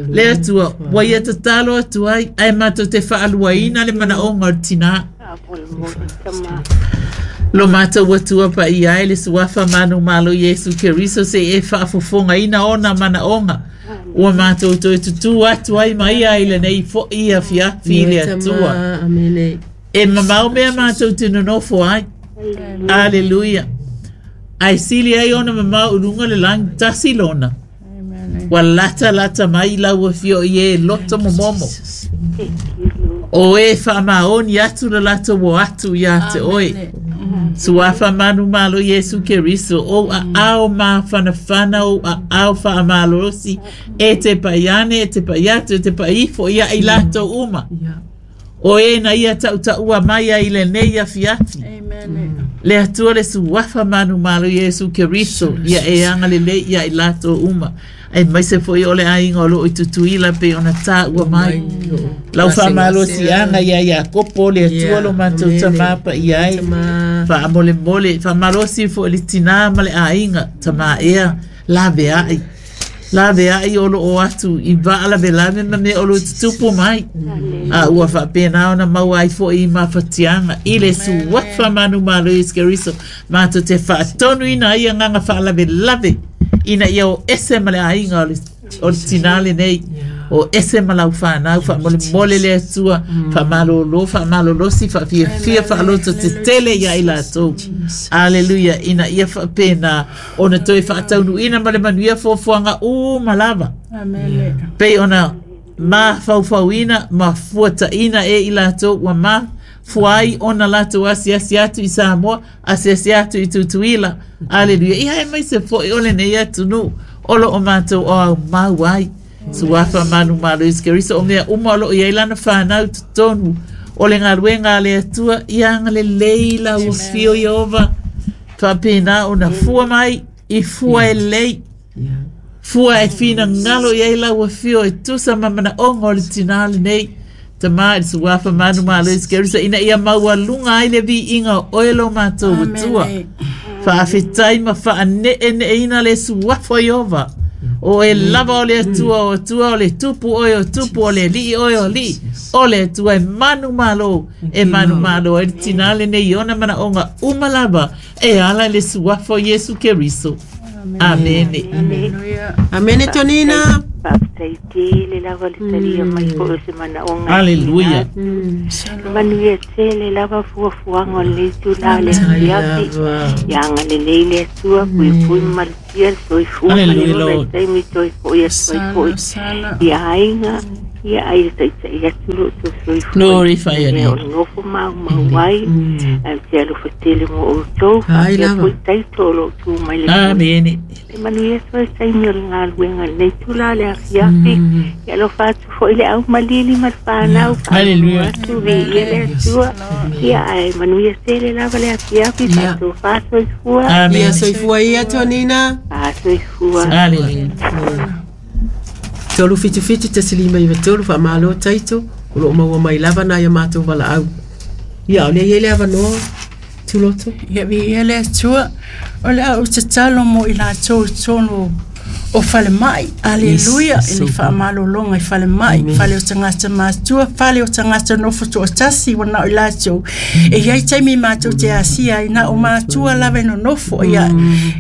Le Atua ua ia tatalo atu ai ae matou te faaluaina le manaoga o le tinā. Faamolemole tama Lo matou Atua paia ai le suafa manumalo Iesu Keriso se e faafofogaina ona manaoga. Ua matou toe tutū atu ai ma ia i lenei fo'i afiafi i le Atua. Amene. E mamao mea matou te nonofo ai. Aleluia. Ae sili ai ona mamao i luga o le lagi tasi lona. Ua lata lata mai lau afio i e loto momomo. Thank you Lord O e faamaoni atu le latou o atu ia te oe. Suafa manumalo Iesu Keriso o aao mafanafana o aao faamalolosi e te paiane e te paiatu e te paifo ia i latou uma. O e na ia tautaua mai ai lenei afiafi. Amen. Le Atua le suafa manumalo Iesu Keriso ia e agalelei ia i latou uma. Aemaise foi o le aiga o loo i Tutuila pei ona taua mai. Lau faamalosiaga ia Iakopo le Atua lo matou tamā paia ai. Faamolemole, faamalosi foi le tinā ma le aiga, tamā ea, laveai. Laveai o loo atu i vaalavelave ma mea o loo tutupu mai. A ua faapena ona maua ai foi i mafatiaga i le suafa manumalo Iesu Keriso. Matou te faatonuina ai agaga faalavelave ina ia o ese ma le aiga o le, o le tinā lenei. O ese ma lau whanau, wha mole mole le atua, wha malolo, wha malolosi, wha fia fia, wha aloto te tele ia i latou. Aleluia, ina ia wha pena, ona toi wha taunu ina ma le manuia fuafuaga uma lava. Pei ona ma faufauina, ma fuataina e i latou, ua ma fuai ona latou asiasi atu i Samoa, asiasi atu i Tutuila. Aleluia, ia e mai se foi o lenei atunuu, o lo o matou o au mau ai. Suafa manu malo Iesu Keriso o mea uma o loo iai lana whanau totonu o le galuega a le Atua ia agalelei lau afio Ieova faapena ona fua mai i fua e lelei fua e finagalo iai lau afio e tusa ma manaoga o le tinā lenei tamā i le suafa manu malo Iesu Keriso ina ia maualuga ai le viiga o oe lo matou Atua faafetai ma faaneeneeina le suafa o Ieova o e lava o le Atua o Atua o le tupu oe o tupu o le alii oe o alii o le Atua e manu malo e manu malo e le tinā lenei ona manaoga uma lava e ala i le suafa o Iesu Keriso. Amene. Amene Tonina. Faafetai tele lava le talia mai foi o se manaoga. Aleluia. Manuia tele lava fuafuaga o lenei itulā le afiafi. Ia agalelei le Atua puipui ma malutia le soifua ma le ola i taimi toe fo'i atu ai fo'i. Ia aiga, ia ai le taita'i atu lo outou soifua. Glorify your name. O le nofo maumau ai, ae ou te alofa tele mo outou. Faapea foi taito o loo tu mai le Amene. E manuia atu ai taimi o le galuega lenei itulā le afiafi. Ia alofa atu foi le aumalili ma le whanau. Hallelujah. Atu viia le Atua. Ia ae manuia tele lava le afiafi. Faatofa soifua. Amene. Ia soifua ia Tonina. Fasoifua. Hallelujah. Tolu fitu fitu tasi lima iva tolu faamalo taito o loo maua mai lava na ia matou valaau. Ia o lea iai le avanoa Tuloto. Ia viia le Atua o le au tatalo mo i latou i totonu o falemai. Aleluia. I le faamalologa i falemai, fale o tagata matua, fale o tagata nofo toatasi ua nao i latou. E iai taimi matou te asia ai na o matua lava e nonofo ia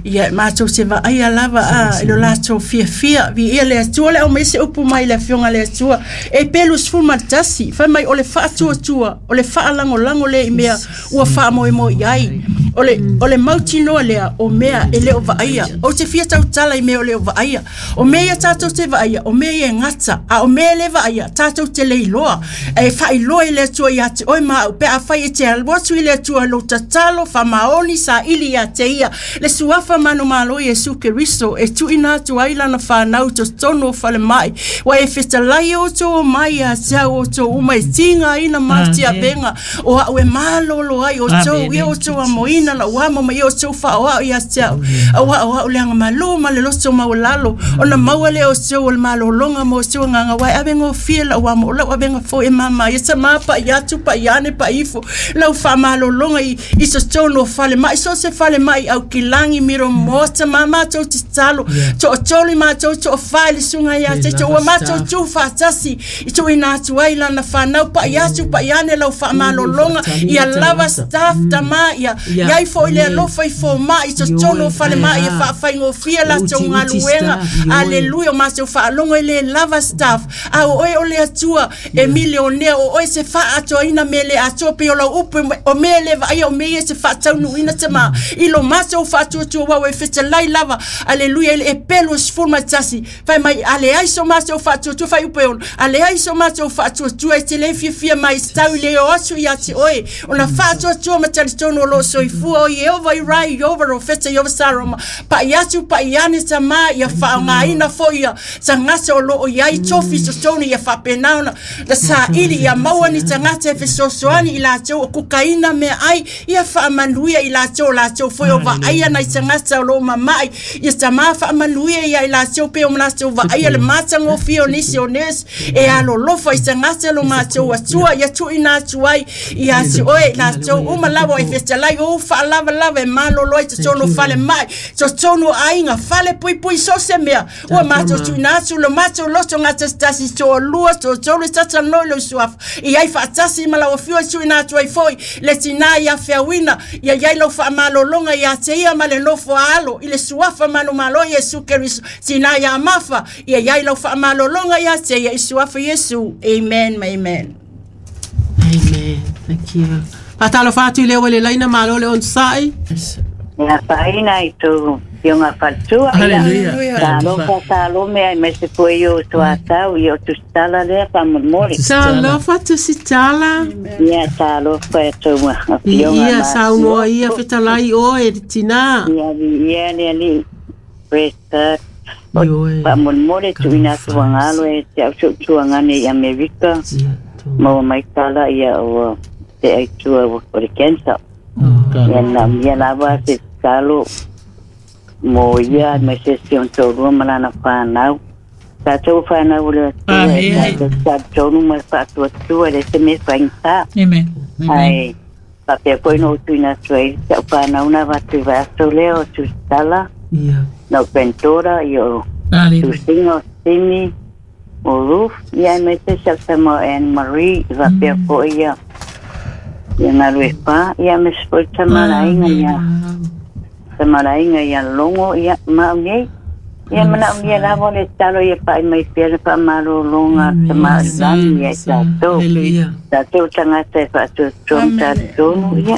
ia matou te vaaia lava a i lo latou fiafia. Viia le Atua le au mai se upu mai le afioga le Atua e pelu sefulu ma le tasi fai mai o le faatuatua o le faalagolago lea i mea ua faamoemoe ai. O le o le mautinoa lea o mea e le o vaaia. Ou te fia tautala i mea o le o vaaia. O mea ia tatou te vaaia, o mea ia e gata, a o mea e le vaaia, tatou te leiloa. E faailoa i le Atua ia te oe ma au, pe afai e te alu atu i le Atua lou tatalo, faamaoni, saili ia te ia. Le suafa manumalo Iesu Keriso e tuuina atu ai lana whanau totonu o falemai. Ua e fetalai outou o mai ia te au outou uma e tigaina ma tiavega o au e malolo ai outou ia outou amoina lau amo ma ia outou faaoao ia te au. Auā o au le agamalū ma le loto maualalo ona maua lea o outou o le malologa ma outou agaga uae ave gofie lau amo o lau avega foi e māmā ia tamā pa'i atu pa'i ane pa'i ifo lau faamalologa i i totonu o falemai so se falemai aukilagi miro tamā matou tatalo toatolu i matou toafā i le suga ia te ua matou tu faatasi i tuuina atu ai lana fanau pa'i atu pa'i ane lau faamalologa ia lava staff tamā ia iai foi le alofa i foma'i i totonu o falemai e faafaigofie latou galuega. Aleluia. O matou faalogo e lē lava staff a o oe o le Atua e milionea o oe se faatoaina mea le atoa pei o lau upu o mea le vaaia o mea ia se faataunuuina tamā i lo matou faatuatua uau e fetalai lava. Aleluia. I le epelu e sefulu ma tasi fai mai a leai so matou faatuatua fai upu e ono a leai so matou faatuatua e te lē fiafia mai tau i le o atu ia te oe ona faatuatua ma talitonu o loo soifua o Ieova i rai Ieova rofeta Ieova Saroma pa'i atu pa'i ane tamā ia faaaogāina foi ia tagata o loo iai tofi totonu ia faapena ona na saili ia maua ni tagata e fesoasoani i latou o kukaina meaai ia faamanuia i latou o latou foi o vaaia nai tagata o loo mama'i ia tamā faamanuia ia i latou pe o latou vaaia le matagofie o nisi o nesi e alolofa i tagata lo matou Atua ia tuuina atu ai ia te oe i latou uma lava e fetalai ou faalava lava e malolo ai totonu fale mai totonu aiga fale puipui so se mea ua matou tuuina atu lo matou loto gatasitasi toalua totolu e tatalanoa i lou suafa i ai faatasi ma lau afio e tuuina atu ai foi le tinā ia feauina ia iai lau faamalologa ia te ia ma le nofo a alo i le suafa manumalo Iesu Keriso tinā ia mafa ia iai lau faamalologa ia te ia i suafa Iesu. Amen ma amen. Amen. Thank you. Faatalofa atu i le ua le laina malo le onosai. Ia faina i tō fionga faletua. Hallelujah. Talofa talo mea mai se poe o tuatau i o tusitala lea faamolemole. Talofa tusitala. Ia talofa e tō fionga. Ia saunoa ia fetalai oe le tinā. Ia ia le ali. Praise God. Faamolemole tuuina atu agalo e te au tuutuagane i Amerika. Maua mai tala ia o te aitua o le cancer. Ia na mia lava se talo mo ia mai se si on tolu ma lana whanau. Tātou whanau le Amen. Tātou ma whaatua tua le se me whaingta. Amen. Ai, papea koe no tuina tua i te au whanau na watu vaso leo tu tala. Ia. No pentora i o Hallelujah. Tusinga o Simi o Ruth. Ia me te sa Anne Marie i wapea koe ia. Ia ngalu e wha. Ia me se tamarainga ia. Tamarainga ia longo ia maunei. Ia mana umia lava le talo ia pai mai pia le pa malolonga tamarangi ia tātou. Hallelujah. Tātou tangata e whaatuatua tātou ia.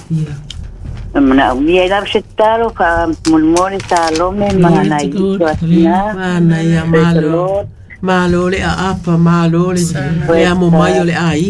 Mana umia lava se talo wha mulmole tālome mana i tuatina. Mana ia malo. Malo le aapa, malo le le amo mai o le aiga.